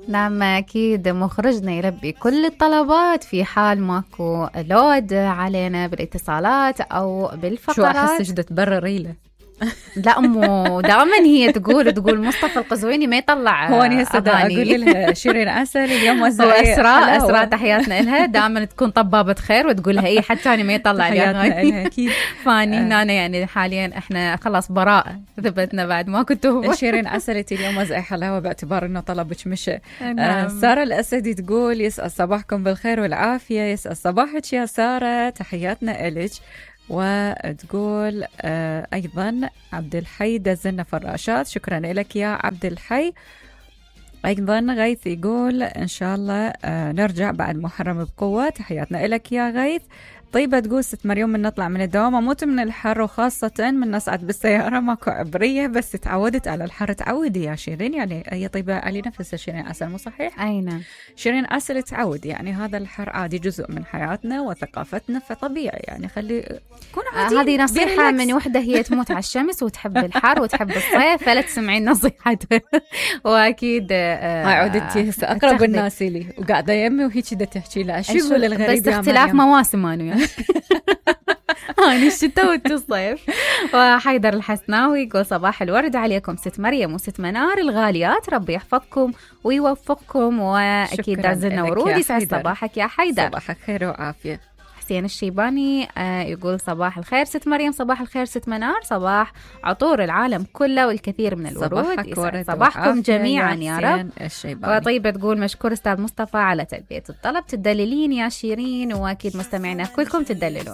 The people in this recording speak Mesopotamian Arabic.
نعم أكيد مخرجنا يلبي كل الطلبات في حال ماكو لود علينا بالاتصالات أو بالفقرات. شو أحسش تبرري له؟ لا أمو دائما هي تقول مصطفى القزويني ما يطلع هو أنا هسه أقول لها شيرين عسل اليوم أسراء تحياتنا لها، دائما تكون طبابة خير وتقول لها حد ثاني ما يطلع لي أكيد. فاني هنا يعني حاليا احنا خلاص براءة ثبتنا بعد ما كنتوا شيرين عسل اليوم وزعي حلاوة باعتبار إنه طلبك مشى. سارة الأسدي تقول يسأل صباحكم بالخير والعافية. يسأل صباحك يا سارة، تحياتنا إلك. وتقول أيضا عبد الحي دزلنا فراشات، شكرا لك يا عبد الحي. أيضا غيث يقول إن شاء الله نرجع بعد محرم بقوة، تحياتنا لك يا غيث. طيبة تقول ست مريم من نطلع من الدوام أموت من الحر، وخاصة من نصعد بالسيارة ماكو عبرية، بس تعودت على الحر. تعودي يا شيرين، يعني هي طيبة علي نفسها شيرين عسل مو صحيح؟ أي نعم شيرين عسل تعود، يعني هذا الحر عادي جزء من حياتنا وثقافتنا، فطبيعي يعني خلي كون عادي. هذه نصيحة من وحدة هي تموت على الشمس وتحب الحر وتحب الصيف، فلا تسمعين نصيحته. وأكيد عودتي هسه أقرب الناس لي وقاعدة يمي وهيك دا تحكي لها شو يقول الغريب، بس اختلاف مواسم أنا يعني هاني الشتاء والصيف. وحيدر الحسناوي يقول صباح الورد عليكم ست مريم وست منار الغاليات، ربي يحفظكم ويوفقكم، وأكيد دازلنا ورود. يسعد صباحك يا حيدر. صباحك خير وعافية. حسين الشيباني يقول صباح الخير ست مريم، صباح الخير ست منار، صباح عطور العالم كله والكثير من الورود. صباحكم جميعا يا رب. وطيبة تقول مشكور أستاذ مصطفى على تلبية الطلب، تدللين يا شيرين، وأكيد مستمعينا كلكم تدللون.